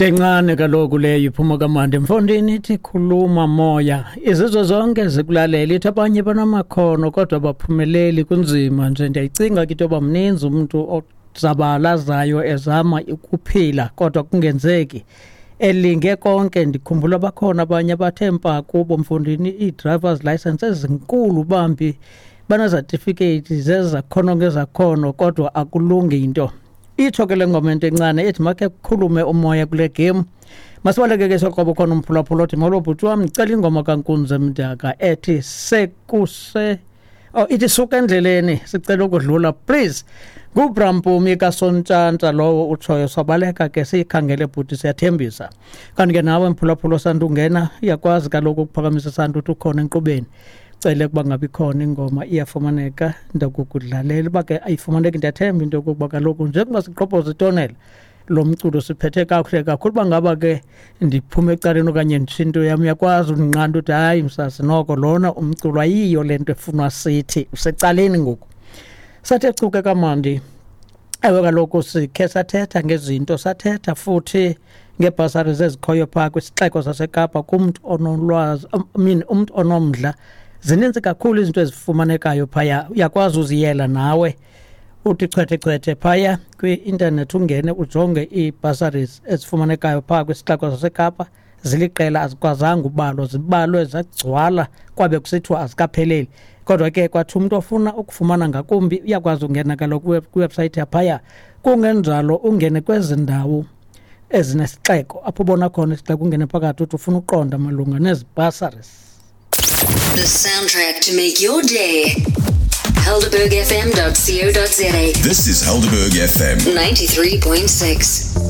Ntencane kaloku leyo iphuma kamandi mfondini ithi khuluma moya. Izizwe zonke zikulalela ithi abanye banamakhono kodwa baphumeleli kunzima nje. Ndiyayicinga ke into yoba mninzi umntu ozabalazayo ezama ukuphila kodwa kungenzeki. Elinge konke ndikhumbula bakhona abanye abathe mpa kubo mfondini ii-drivers license ezinkulu bambi banezatifiketi zezakhono ngezakhono kodwa akulungi into. Itsho ke le ngoma into encane ethi makhe kukhulume umoya kule game. Masibaleke ke soqobo khona umphulaphula othi molo bhuti wam ndicela ingoma kaNkunzi Mdaka ethi sekuse oh ithi suka endleleni sicela ukudlula please. NguBrampumi kaSontshantsa lowo utshoyo sabaleka ke siyikhangele bhuti siyathembisa. Kanti ke nawe mphulaphula osanda ungena uyakwazi kaloku ukuphakamisa isandla uthi ukhona enkqubeni. Cele ukuba ngabe ikhona ingoma iyafumaneka ndakukudlalela uba ke ayifumaneki ndiyathemba into yokokuba kaloku njengoba siqobhoza itonela lo mculo siphethe kakuhle kakhulu uba ngaba ke ndiphume ecaleni okanye nditsho into yam uyakwazi undinqanda uthi hayi msasi noko lona umculo ayiyo le nto efunwa sithi usecaleni ngoku. Sathe chuke kamandi. Ewe kaloku sikhe sathetha ngezinto sathetha futhi ngeebhasari ezikhoyo phaa kwisixeko saseKapa kumntu onolwazi I mean umntu onomdla. Zininzi kakhulu izinto ezifumanekayo phaya uyakwazi uziyela nawe uthi chwethe chwethe phaya kwi-intanethi ungene ujonge ii-bursaries ezifumanekayo phaa kwisixeko saseKapa. Ziliqela azikwazanga ubalwa zibalwe zagcwala kwabe kusithiwa azikapheleli. Kodwa ke kwathi umntu ofuna ukufumana ngakumbi uyakwazi ungena kaloku kwiwebsayithi yaphaya. Kungenjalo ungene kwezi ndawo ezinesixeko apho ubona khona isixeko ungene phakathi uthi ufuna uqonda malunga nezi bursaries. The soundtrack to make your day. HelderbergFM.co.za. This is Helderberg FM 93.6.